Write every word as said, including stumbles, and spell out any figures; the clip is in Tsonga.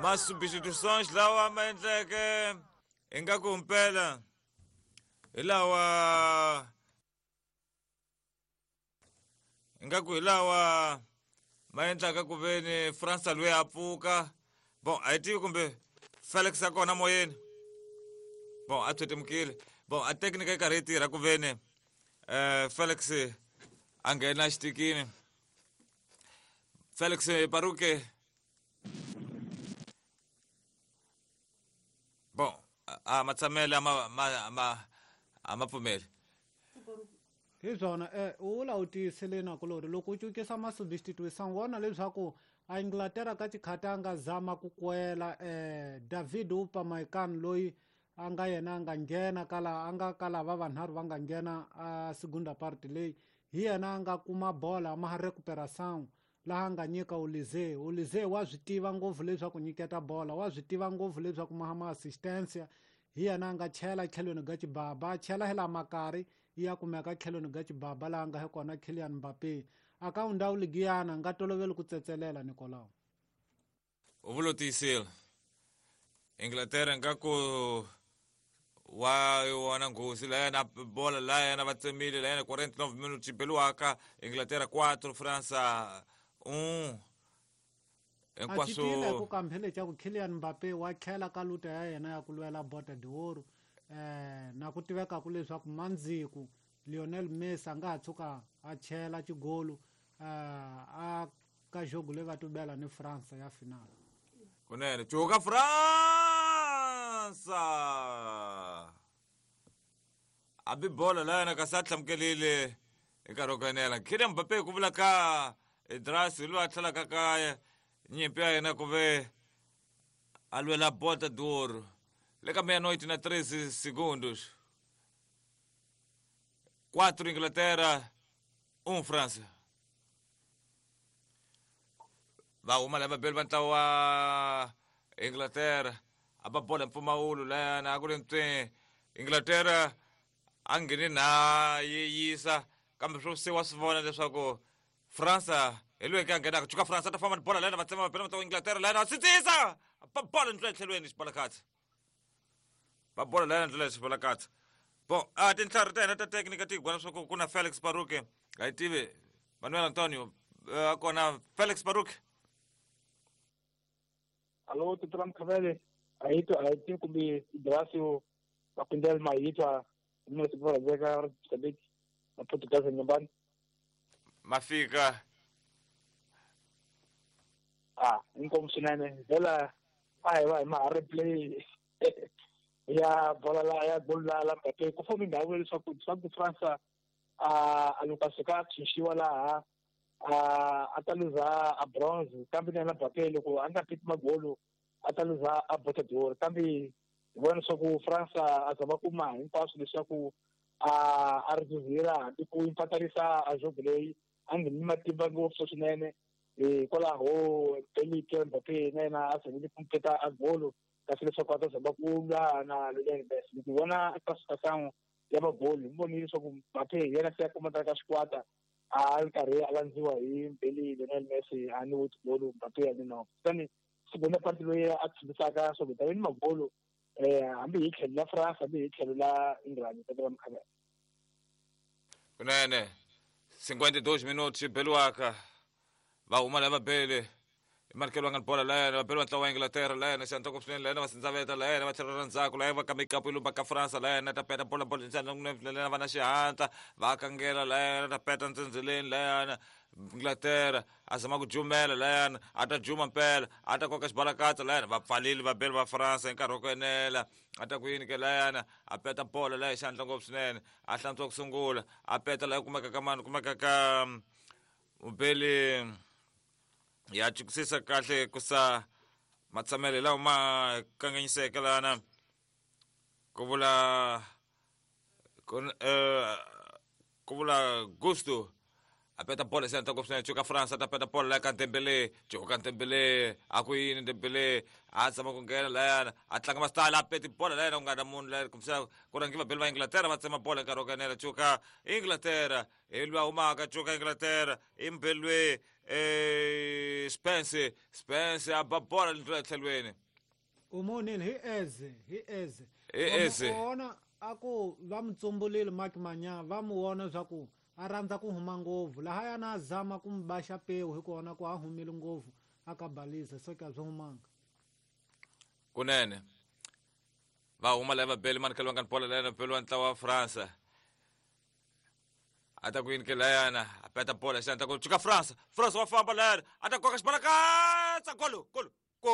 Ma substituições lawa ma endleke ingaku mpela hi lawa ingaku hi lawa ma endlaka ku veni Fransa loyi a pfuka. Bon, a hi tivi kumbe Felix a kona moyeni. Bon, a tswetemukile. Bon, a teknika yi karhi yi tirha ku veni eh Felix a nghena xitikini. Felix Paruke. Bon, a matshamele a ma ma ma a ma pfumeli. Hi swona eh u vula u tiyisile na kulori loko u cukisa ma-substitution vona leswaku a Inglaterra ka xikhati a nga zama ku kwela eh David Upamecano loyi a nga yena a nga nghena kala a nga kala va vanharhu va nga nghena a segunda parte leyi hi yena a nga kuma bola ma recuperação laha a nga nyika Olise. Olise wa swi tiva ngopfu leswaku nyiketa bola, wa swi tiva ngopfu leswaku ma ma assistance. Hi yena a nga chela tlhelweni ga xibaba, chela hi la makari ya kumeka tlhelweni ga xibaba laha nga hi kona Kylian Mbappe. A ka ndhawu ligiyana nga toloveli ku tsetselela Nicolau. U vula tiyisile. Inglaterra ngaku wa wona nghozi la yena bola la yena va tsemile la yena quarenta e nove minutos beliwaka Inglaterra quatro França um. Hinkwaswo ku kambele xa ku Kylian Mbappe wa tlhela ka luta ya yena ya ku lwela Bota d'Or eh na ku tiveka ku leswaku mandziku Lionel Messi a nga ha tshuka a chela xigolo a ka jogo leyi va tubela ni France ya final. Kunene cuka Fransa a bi bola la yena kasi a tlhamukelile hi nkarhi wo kanela. Kylian Mbappe ku vula ka Idras loyi a tlhelaka kaya nyimpi ya yena ku ve a lwela Bota d'Or le ka meia-noite na treze segundos. Quatro Inglaterra, um França. Va huma lava beli va ntlawa wa Inglaterra a va bola mpfumawulo layana a ku ri ntswe Inglaterra a ngheni na yi yisa kambe swo se wa swi vona leswaku Fransa hi loyi a nghenaka cuka Fransa ta famba ni bola layana va tsema va bela ntlawa wa Inglaterra layana sindzisa va bola ndlela etlhelweni xibalakatsa va bola layana ndlela xibalakatsa. Bon, a tintlhari ta hina ta teknika ti hi leswaku ku na Felix Paruke a hi tivi Manuel Antonio a kona Felix Paruke. Alô, Tutura Mkhavele, a hi twa a hi tivi kumbe Idrasio va pindela ma hi twa mina siku ra veka Mozambique na Portugal nyumbani. Mafika ah inkomu swinene vhela a hi va hi ma ha replay ya bola la ya gol la la Mbappe ku fome ndhawu leswaku leswaku Fransa a a loko a suka a tshunxiwa laha a a ta luza a bronze kambe na Mbappe loko a nga piti magolo a ta luza a Bota d'Or kambe hi vona leswaku Fransa a zama kuma hinkwaswo leswaku a a ri zuzira hambi ku impatarisa a jogo leyi a ngheni matimba ngopfu swinene hikwalaho Kylian Mbappe na yena a zamile ku peta a golo kasi leswaku a ta zama ku lwa na Lionel Messi. Loko hi vona eka swikasango ya magoli hi vonile leswaku Mbappe hi yena se a kumaka ka xikwata a ri karhi a landziwa hi mbeli Lionel Messi a ni wo tigolo Mbappe a ni no kutani segunda parte loyi a tshembisaka swa ku ta ni magolo eh hambi hi tlhelo la France hambi hi tlhelo la England ta va mukhavela. Kunene cinquenta e dois minutos beliwaka va huma lava bele markelo nga bola layana va bele va ntlawa wa Inglaterra layana xandla ku swinene layana va sindzaveta layana va tlhela ra ndzhaku layana va kambe ikapu yi lumba ka Fransa layana ta peta bola bola layana va na xihatla va kangela layana ta peta ntsendzeleni layana Inglaterra a zama ku jumela layana a ta juma mpela a ta koka xibalakatsa layana va pfalile va bele va Fransa hi nkarhi wa ku enela a ta ku yini ke layana a peta bola laya xandla ngopfu swinene a hlantswa ku sungula a peta laya kumeka ka mani kumeka ka mubeli ya chukusisa kahle kusa matshamelo lawa ma kanganyiseke lana ku vula ku eh, ku vula Gusto A peta bola se ta swinene cuka France a ta peta bola la ka Dembele cuka Dembele a ku yini Dembele a tshama ku nghena layana a tlanga masitala a peti bola layana ku nga na munhu la kumbexana ku rhangi vabeli va Inglaterra va tsema bola nkarhi wo kanela cuka Inglaterra hi lwa humaka cuka Inglaterra i mbelwe eh Spence Spence a ba bola le tlhelweni u monile hi eze hi eze Hi Eze. Vona a ku va mu tsumbulile Mike Manya va mu vona swa ku a rhandza ku huma ngopfu lahayana a zama ku mu baxa pewu hi kona ku a humile ngopfu a ka balisa so ka byi humanga. Kunene va huma la vabeli mani khelwa ngani bola layana beli wa ntlawa wa France a ta ku yini ke layana a peta bola xana ta ku cuka France France wa famba layana a ta koka xibalakatsa golo golo go.